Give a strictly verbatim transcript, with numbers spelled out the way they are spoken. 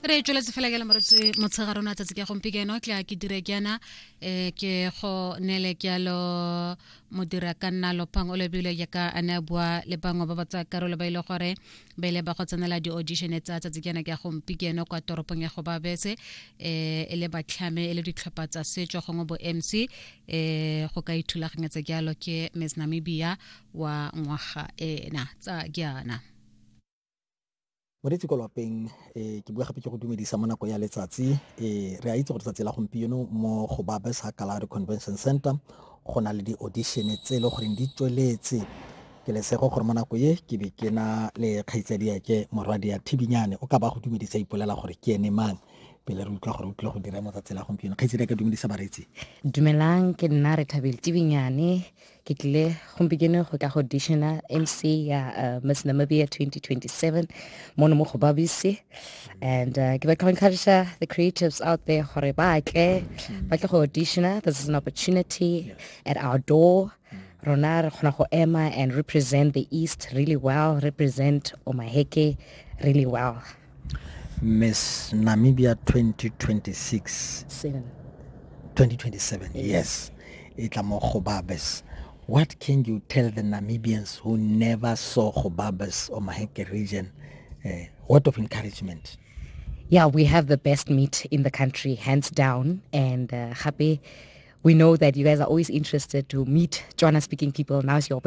Re tsweletse fela ke le moretsi motshegare ona tsatsi ke gompieno tla ke dire jaana um ke go neele jalo modira ka nna Lopang o lebile jaaka a ne a bua le bangwe ba ba tsaya karolo ba ile gore ba ile ba go tsenela di-audition tsa tsatsi jaana ke gompieno kwa toropong ya Gobabese um e le batlhame e le ditlhopha tsa setso gongwe bo M C um go ka ithulaganyetsa jalo ke Miss Namibia wa ngwaga ena tsa jaana. Moreetsi ko lwapeng, um ke bua gape ke go dumedisa mo nako ya letsatsi. um re a itse gore tsatsi la gompieno mo Gobabis Kalahari Convention Center go na le di-audition tse e le goreng di tsweletse. Ke lesego gore mo nako ye ke be ke na le kgaitsadiake Morwadia Thibinyane. O ka ba go dumedisa, ipolela gore ke ene mang pele re utlwa gore o tlile go dira mo tsatsi la gompieno. Kgaitsadiake, dumedisa bareetsi. Dumelang, ke nna Rethabile Tibinyane. Ke tlile gompieno go ka go auditiona M C ya uh, Miss Namibia twenty twenty-seven mono mo Gobabisi, and uh, ke batla go encourage the creatives out there gore ba tle ba tle go auditiona. This is an opportunity at our door. Rona re kgona go ema and represent the east really well, represent Omaheke really well. Miss Namibia twenty twenty-six. Seven. twenty twenty-seven, yes, e tla mo Gobabis. What can you tell the Namibians who never saw Gobabis or Omaheke region? uh, word of encouragement. Yeah, we have the best meat in the country, hands down. And uh, gape, we know that you guys are always interested to meet Tswana speaking people. Now's your opportunity.